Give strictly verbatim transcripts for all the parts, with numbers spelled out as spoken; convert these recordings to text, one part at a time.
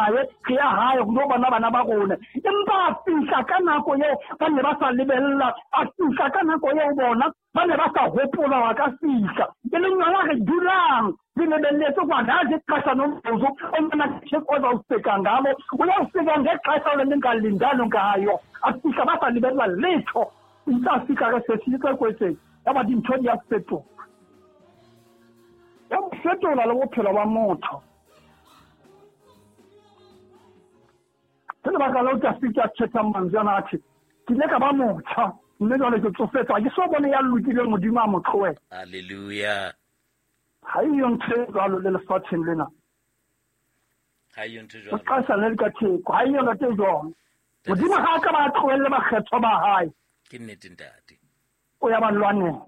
tsamaye re ya hae go no bona bana ba rona. Empa a fihla ka nako eo ba ne ba sa lebella, a fihla ka nako eo bona ba ne ba sa hopola wa ka fihla. E leng yona re dulang re lebelletse kwa ngazi ixesha nomzuzu omna Thixo ozawufika ngalo, uyawufika ngexesha leningalindanga ngayo. A fihla ba sa lebella letho, ntse a fihla re sesitse kwetseng ya ba dintho di a fetoha. Ya fetola le bophelo ba motho. Ke lebaka leo ke a fihla thetha mantswe ana a thwe ke ile ka ba motjha mme jwale ke tsofetse, ha ke so bone ya lokileng Modimo a mo tlohela. Hallelujah. Ha eyo ntho e jwalo le lefatsheng lena. Ha eyo ntho e jwalo. O qasa le ka theko, ha eyo ntho e jwalo. Modimo ha a ka ba tlohelle bakgethwa ba hae. Ke nnete ntate. O ya ba lwanela.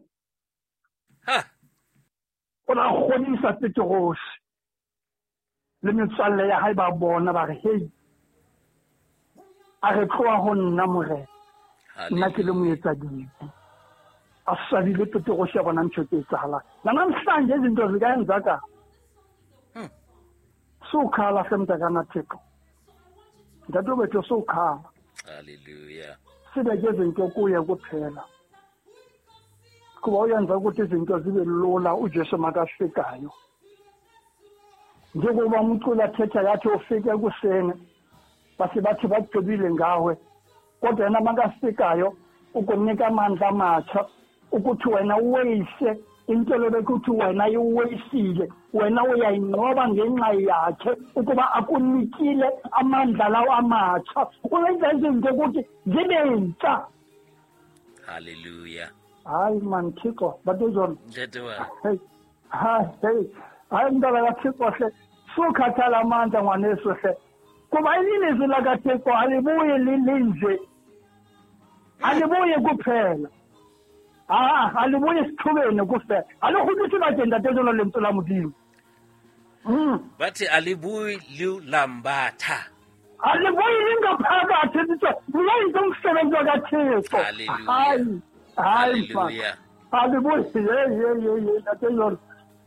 Ha. O la kgodisa Petrose le metswalle ya hae ba bona ba re hei, a re tloha ho nna Morena, nna ke le moetsadibe. A swabile Petrose ya bona ntho tse etsahalang. Namhlanje izinto zikayenzakala. Sukhala hle mntakana Thixo. Ntate wethu sukhala. Hallelujah. Sibeke izinto kuye kuphela. Kuba uyenza ukuthi izinto zibe lula uJesu makafikayo. Njengoba umculo athetha yathi ufike ekuseni base bathi bagqibile ngawe, kodwa yena makafikayo ukunika amandla amatsha ukuthi wena uweyise into lebekuthi wena iweyisile, wena uyayinqoba ngenxa yakhe ukuba akunikile amandla lawo amatsha. Uyenza izinto ukuthi zibe ntsha. Hallelujah. Hayi man Thixo, batozona. Ntate wa. Hey. Hayi, hey. Hayi mntwana kaThixo hle. Sukhathala amandla ngwaneso hle. Kuba ilizwi lakaThixo alibuye lilinje. Alibuye kuphela. Ah, alibuye sithubeni kuphela. Alikhuthi bakhe ntate jona lentswe la Modimo. Mm. Bathi alibuyi lambatha. Alibuyi lingaphakathi Thixo. Uyenza umsebenzi kaThixo. Hallelujah. Hayi mfana. Alibuyi ye ye ye ye ntate jona.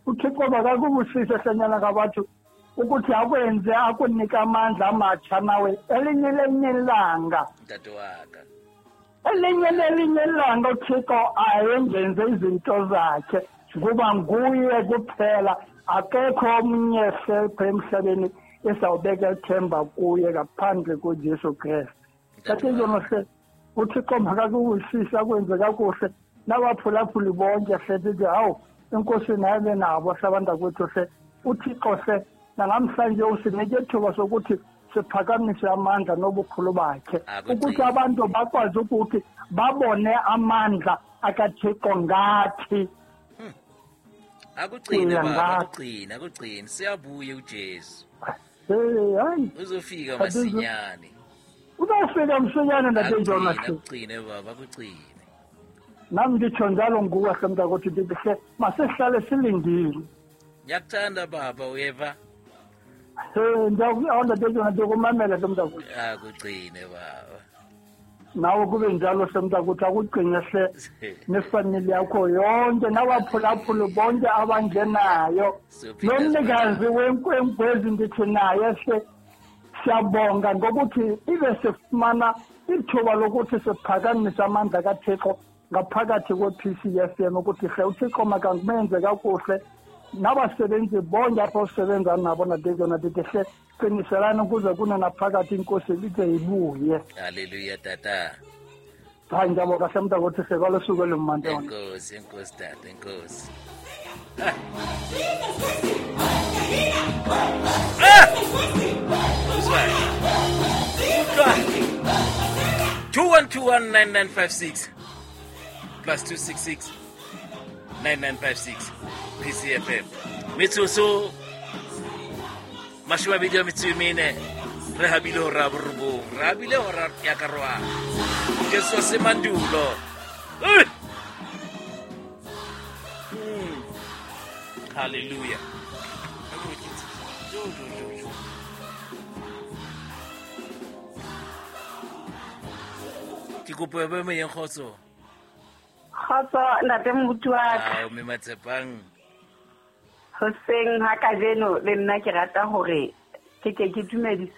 uThixo makakubusise hlenyana kabathu ukuthi akwenze akunika amandla amatsha nawe elinye lelinye ilanga. Ntate waka. Elinye lelinye ilanga uThixo ayengenze izinto zakhe kuba nguye kuphela, akekho omnye selphe emhlabeni esawubeka ithemba kuye ngaphandle koJesu Kristu. Ntate jona hle uThixo makakubusise akwenze kakuhle nabaphulaphuli bonke hle sithi hawu inkosi naye nabo hlabantu hle uThixo hle namhlanje usinike ithuba sokuthi siphakamise amandla nobukhulu bakhe ukuthi abantu bakwazi ukuthi babone amandla akaThixo ngathi. Akugcine baba, akugcine, akugcine. Siyabuya uJesu. Hey, hayi. Uzofika masinyane. Uzofika msinyane ntate Jona. Akugcine baba, akugcine. Nami ngitsho njalo nguwe hle mntakwethu ndithi hle masihlale silindile. Ngiyakuthanda baba, uyeva? Eh, ndiyakuthanda ntate Jona, ndikumamela hle mntakwethu. Akugcine baba. Nawe kube njalo hle mntakwethu, akugcine hle nefamili yakho yonke nabaphulaphuli bonke abangenayo. Nomnikazi wenkwenkwezi ndithi naye hle siyabonga ngokuthi ibe sifumana ithuba lokuthi siphakamise amandla kaThixo ngaphakathi kwe-P C F M ukuthi hle uThixo makangumenze kakuhle nabasebenzi bonke apho usebenza nabo nadekona ndithi hle qiniselani ukuze kune naphakathi inkosi ide ibuye. Hallelujah tata. Hayi ngiyabonga hle mntakwethu hle kwalosuku olumandi. Enkosi, enkosi tata, enkosi. two one two one nine nine five six plus two six six nine nine five six P C F M. Metsotso mashome a mabedi a metso e mene re habile hora ya borobong, re habile hora ya karohano. Jesu se mandulo. Mm. Hallelujah. Ke kopo ya ba moyeng kgotso. Kgotso ntate moruti wa ka. Ao mme Matsepang. Hoseng ha kajeno le nna ke rata hore ke ke ke dumedise